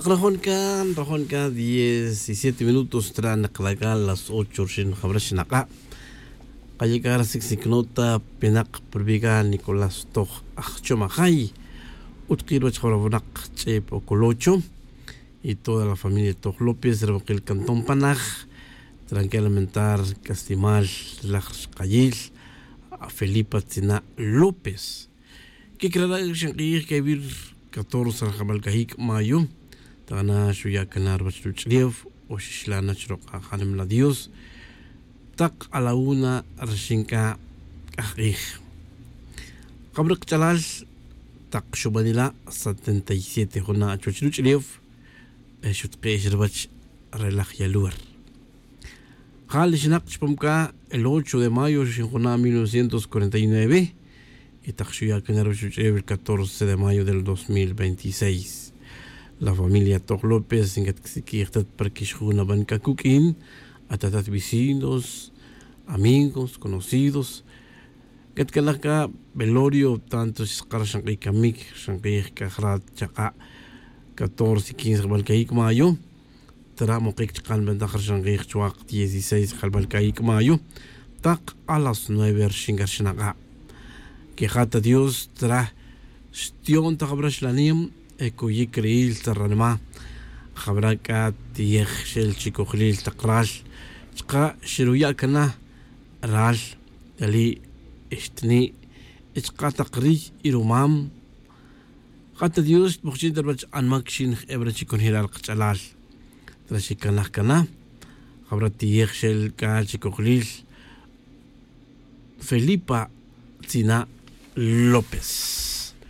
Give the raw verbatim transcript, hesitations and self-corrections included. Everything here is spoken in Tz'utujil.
Rajon ca rajon ca diecisiete minutos tra nakla' ca las ocho rixin jabra xnak'a'. Kaye' ca rasic sic nota pinak prubi' ca nicolás toj ajchom ajay. Utki' ruwach jabra winak ch'ep ocolocho y toda la familia toj lópez rawakil cantón panaj. Tranquila mentar castimal relaj rixkayil felipa tzina' lópez. Quic rara' xank'ij quevir catorce rajabal cajic' mayo. Tana xuya' cana ruwach ruch'lew o xixla' na chirok' ajanimla dios. Tak a la una rixin c'a c'ajk'ij jabra kach'alal. Tak xubanila' setenta y siete juna' chuwach ruch'lew. Xutk'ex ruwach re laj yaluwer. Ja' li xinak chupam c'a el ocho de mayo xinjuna' mil novecientos cuarenta y nueve. Y tak xuya' cana ruwach ruch'ew el catorce de mayo del dos mil veintiséis. La familia toj lópez ncat csiq'uij tat para quixjunaban c'a cuq'uin atatat vecinos, amigos conocidos. Ncat calaj c'a velorio tanto xskar xank'ij camic xank'ij c'a jrat chak'a'. Catorce y quince jabal cayic mayo. Tara' mokic chkan ventaj rixank'ij chuak dieciséis jalbal cayic mayo. Tak a las nueve rixin c'a rixin ak'a' quejat ta dios tara'. Xti'on ta jabra xlanem e cuyic ri'il ta ranima'. Jabra c'a tiyej xel chicojlil tak ral chka' xeruya' cana ral yali' xtni' chka' tak riy y rumam. Jat ta dios xtmojchin ta ruwach anmac xin j'ebra chi conjelal kach'alal. Tara' xicanaj cana jabra tiyej xel c'a chicojlil felipa tzina' lópez.